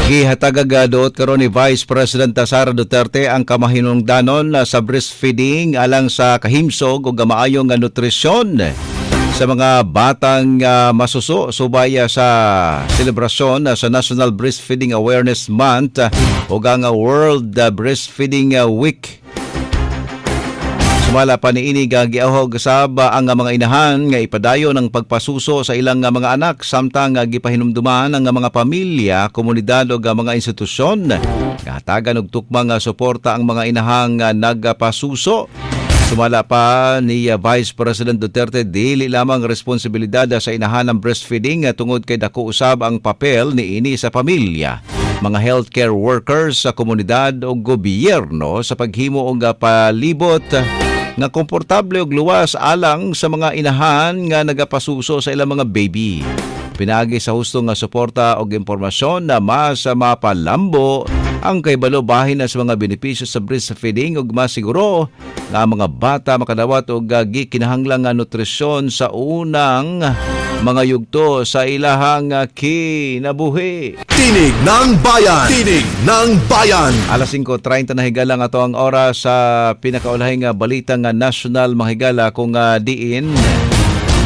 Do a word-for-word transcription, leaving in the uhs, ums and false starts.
Gihatagag duot karon ni Vice President Sara Duterte ang kamahinungdanon sa breastfeeding alang sa kahimsog ug maayong nutrisyon sa mga batang uh, masuso subay sa selebrasyon uh, sa National Breastfeeding Awareness Month uh, ug ang World Breastfeeding Week. Sumala pa niini, giahog sab ang mga inahan nga ipadayon ang pagpasuso sa ilang mga anak samtang gipahinumduman ang mga pamilya, komunidad ug mga institusyon nga hatagan og tukmang suporta ang mga inahang nagpasuso. Sumala pa ni Vice President Duterte, dili lamang responsibilidad sa inahan ang breastfeeding tungod kay dako usab ang papel niini sa pamilya, mga healthcare workers sa komunidad o gobyerno sa paghimo og palibot nga komportable ug luwas alang sa mga inahan nga nagapasuso sa ilang mga baby. Pinaagi sa husto nga suporta og impormasyon na mas mapalambo ang kaybalo bahin na sa mga benepisyo sa breastfeeding ug masiguro nga ang mga bata makadawat og gikinahanglang nga nutrisyon sa unang mga yugto sa ilahang kinabuhi. Tinig ng Bayan! Tinig ng Bayan! Alas singko treinta na higala nga ato ang oras sa pinakaulahing balita nga national, mga higala, kung uh, diin